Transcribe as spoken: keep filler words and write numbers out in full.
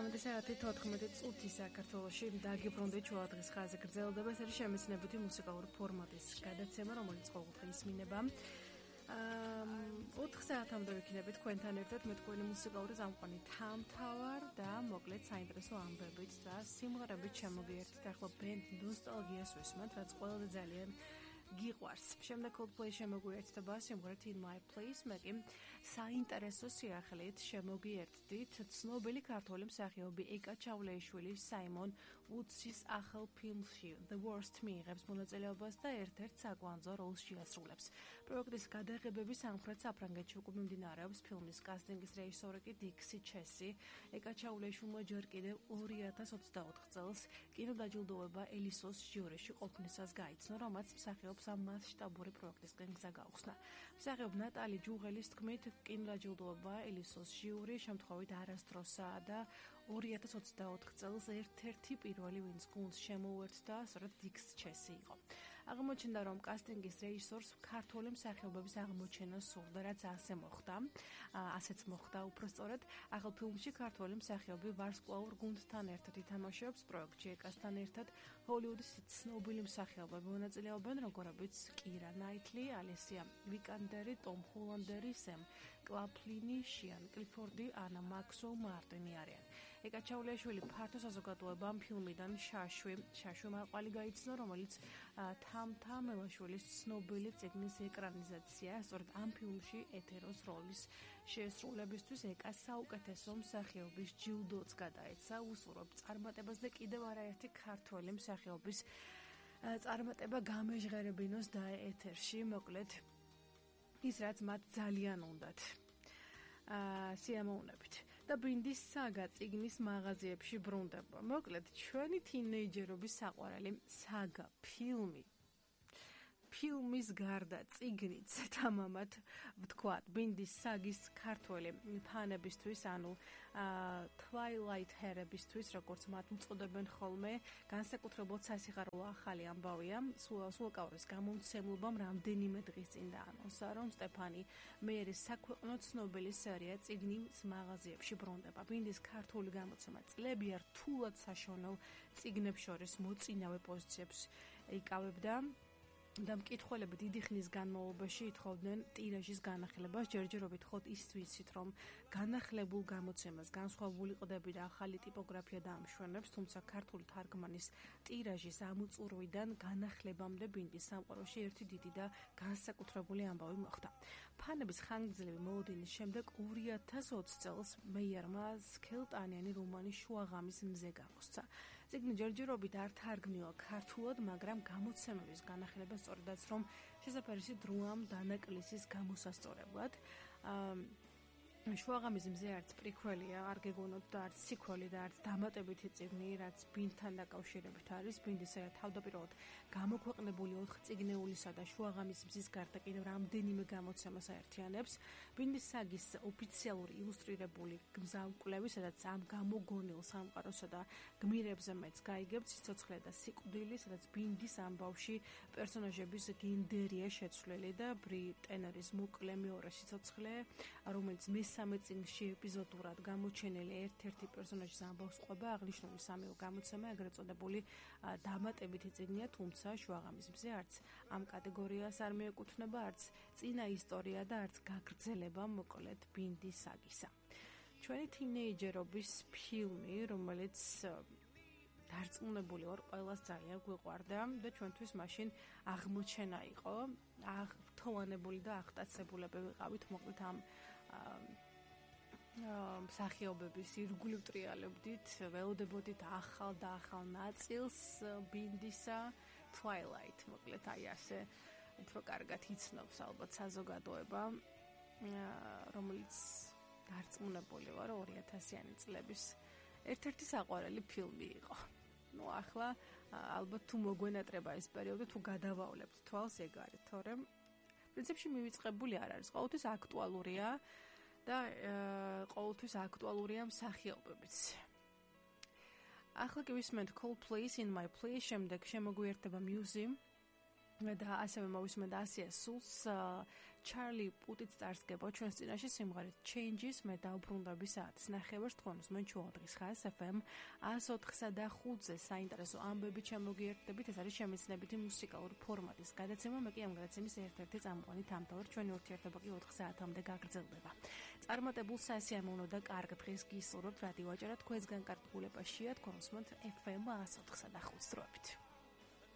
ოცდამეტი საათი თოთხმეტი წუთი საქართველოში დაგიბრუნდით ჩვეულა დღის ხაზი გრძელდება. ეს არის შემეცნებითი მუსიკალური ფორმატის გადაცემა, რომელიც ყოველდღე ისმინება. ოთხ საათამდე ვიქნებით თქვენთან ერთად, მე თქვენი მუსიკალური წამყვანი თამთავარ და მოკლედ საინტერესო ამბებით და სიმღერებით შემოგიერთით. ახლა ბენდ ნოსტალგიას ვისმენთ, რაც ყველაზე ძალიან გიყვარს. შემდეგ Coldplay შემოგვიერთდება სიმღერით In My Place, მე კი საინტერესო სიახლით შემოგიერთდით ცნობილი ქართველი მსახიობი ეკა ჩავლეიშვილის საიმონ უცის ახალ ფილმში The Worst მიიღებს მონაწილეობას და ერთ-ერთ საკვანძო როლს შეასრულებს. პროექტის გადაღებები სამხრეთ საფრანგეთში უკვე მიმდინარეობს. ფილმის კასტინგის რეჟისორი კი დიქსი ჩესი. ეკა ჩავლეიშვილმა ჯერ კიდევ ორი ათას ოცდაოთხ წელს კინოდაჯილდოება ელისოს ჟიურიში ყოფნისას გაიცნო, რომელიც მსახიობს მასშტაბური პროექტისკენ გზა გაუხსნა. მსახიობ ნატალი ჯუღელის თქმით, კინოდაჯილდოება ელისოს ჟიური შემთხვევით არასდროსაა და ორი ათას ოცდაოთხ წელს ერთ-ერთი პირველი, ვინც გუნდს შემოუერთდა, სწორედ დიքს ჩესი იყო. აღმოჩნდა, რომ კასტინგის რეჟისორს ქართული მსახიობების აღმოჩენა სურდა, რაც ასე მოხდა. ასეც მოხდა უბრალოდ. ახალ ფილმში ქართული მსახიობი ვარსკვლავურ გუნდთან ერთად ითამაშებს. პროექტში ეკასთან ერთად ჰოლივუდის ცნობილი მსახიობები მონაწილეობენ, როგორებიც კირა ნაიტლი, ალესია ვიკანდერი, ტომ ჰოლანდერი, სემ კლაფლინი, შიან კლიფორდი, ანა მაქსო მარტინი არიან. ეკა ჩავლეიშვილი ფართო საზოგადოებამ ფილმიდან შაშვი, შაშვი მაყვალი გაიცნო, რომელიც თამთა მელაშვილის ცნობილი წიგნის ეკრანიზაცია. სწორედ ამ ფილმში ეთეროს როლის შესრულებისთვის ეკა საუკეთესო მსახიობის ჯილდოც გადაეცა. უსურვებ წარმატებას და კიდევ არაერთი ქართველი მსახიობის წარმატება გამეჟღერებინოს და ეთერში, მოკლედ ის რაც მათ ძალიან უნდათ. აა სიამოვნებით. და ბრინდის საგა წიგნის მაღაზიებში ბრუნდება. მოკლედ ჩვენი თინეიჯერობის საყვარელი საგა ფილმი. ფილმის გარდა წიგნიც თამამად ვთქვათ, ბრინდის საგის ქართველი ფანებისთვის, ანუ Twilight ჰერებისთვის, როგორც მათ უწოდებენ ხოლმე, განსაკუთრებულად სასიხარულო ახალი ამბავია. სულკაურის გამომცემლობამ რამდენიმე დღის წინ დაანონსა, რომ სტეფანი მეიერის საქვეყნო ცნობილი სერია წიგნის მაღაზიებში ბრუნდება. ბრინდის ქართული გამოცემა წლები რთულად საშონელ წიგნებს შორის მოწინავე პოზიციებს იკავებდა. და მკითხველები დიდი ხნის განმავლობაში ითხოვდნენ ტირაჟის განახლებას. ჯერჯერობით ხოთ ის ვიცით, რომ განახლებულ გამოცემას განსხვავებული ყდები და ახალი ტიპოგრაფია დაამშვენებს, თუმცა ქართული თარგმანის ტირაჟის ამოწურვიდან განახლებამდე ბრინდის სამყაროში ერთი დიდი და განსაკუთრებული ამბავი მოხდა. ფანების ხანგრძლივი მოლოდინის შემდეგ ორი ათას ოცი წელს მეიერმა სქელტანიანი რომანი შუაღამის მზე გამოსცა. წიგნი ჯერჯერობით არ თარგმნილა ქართულად, მაგრამ გამოცემების განახლება სწორედაც რომ შესაძლებელია დროამ დანაკლისის გამოსასწორებლად. შუაღამის მზე არც პრიქველია, არ გეგონოთ და არც სიკველი და არც დამატებითი წიგნი, რაც ბინდთან დაკავშირებით არის. ბინდის თავდაპირველად გამოქვეყნებული ოთხ წიგნეულისა და შუაღამის მზის გარდა კიდევ რამდენიმე გამოცემას აერთიანებს. ბინდის საგის ოფიციალური ილუსტრირებული გზამკვლევი, სადაც ამ გამოგონილ სამყაროსა და გმირებზე მეც გაიგებთ სიცოცხლე და სიკვდილი, სადაც ბინდის ამბავში პერსონაჟების გენდერია შეცვლილი და ბრი ტენერის მოკლე მეორე სიცოცხლე, რომელიც მესამე წიგნში ეპიზოდურად გამოჩენილი ერთ-ერთი პერსონაჟის ამბავს ყვება. აღნიშნული სამეო გამოცემა ეგრეთ წოდებული დამატებითი წიგნია, თუმცა შუაღამის მზე არც ამ კატეგორიას არ მიეკუთვნება, არც წინა ისტორია და არც გაგრძელება, მოკლედ ბინდის საგისა. ჩვენი თინეიჯერობის ფილმი, რომელიც დარწმუნებული ვარ, ყველას ძალიან გვიყვარდა და ჩვენთვის მაშინ აღმოჩენა იყო. აღთოვანებული და აღტაცებულები ვიყავით, მოკლედ ამ მსახიობების ირგვლივ ტრიალებდით, ველოდებოდით ახალ და ახალ ნაწილს ბინდისა, Twilight, მოკლედ აი ასე უფრო კარგად იცნობს ალბათ საზოგადოება, რომელიც დარწმუნებული ვარ, ორი ათასიანი წლების ერთ-ერთი საყვარელი ფილმი იყო. ნუ ახლა ალბათ თუ მოგვენატრება ეს პერიოდი, თუ გადავავლებთ თვალს, ეგ არის, თორემ პრინციპში მივიწყებული არ არის. ყოველთვის აქტუალურია და ყოველთვის აქტუალურია მსახიობებიც. ახლა კი ვისმენთ Coldplay's In My Place, შემდეგ შემოგვიერთდება Muse და ასევე მოვისმენთ ასია სულს ჩარლი პუტიც წარსგება ჩვენს წინაშე სიმღერით Changes მე დაუბრუნდები საათის ნახევარს თქვენ უსმენთ ჩვეუადღის ხას ეფ ემ one oh five და ხუთზე საინტერესო ამბები ჩამოგიერთდებით. ეს არის შემეცნებითი მუსიკალური ფორმატის გადაცემა. მე კი ამ გადაცემის ერთ-ერთი წამყვანი თამთავარ. ჩვენი ურთიერთობა კი ოთხ საათამდე გაგრძელდება. წარმატებულ სასიამოვნო და კარგ დღეს გისურვებთ რადიო აჭარა თქვენსგან კარგ გულებაშია თქვენ უსმენთ ეფ ემ one oh five და ხუთს დროებით.